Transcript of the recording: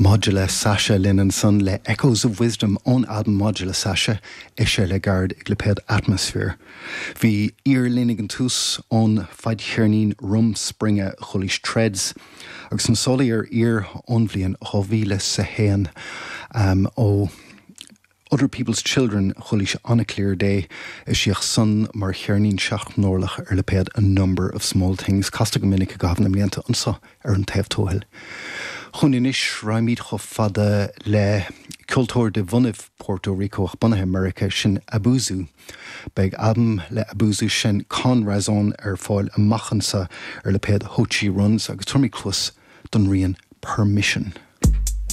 Modular Sasha linn ansan le Echoes of Wisdom ón albam Modular Sasha, eisithe le gairid ag lipéad Atmosphere. Bhí aoir linn ag an tús ón fadcheirnín Rumspringa chualaís Treads agus na sólóí ar aoir ón bhliain 2001 ó Other People's Children, chualaís On a Clear Day, eisíodh san mar cheirnín seachtnorlach ar lipéad A Number of Small Things, casta go minic i gcaitheamh na mblianta anso ar An Taobh Tuathail. Chugainn anois, raghaimid chomh fada le ceoltóir de bhunaibh Puerto Rico ach bunaithe i Meiriceá, sin Abuzu. Beidh albam le Abuzu, sin Con Razón, ar fáil amach anso ar lipéad Ho Chi Runs agus tabharfaimid cluas don rian Permission.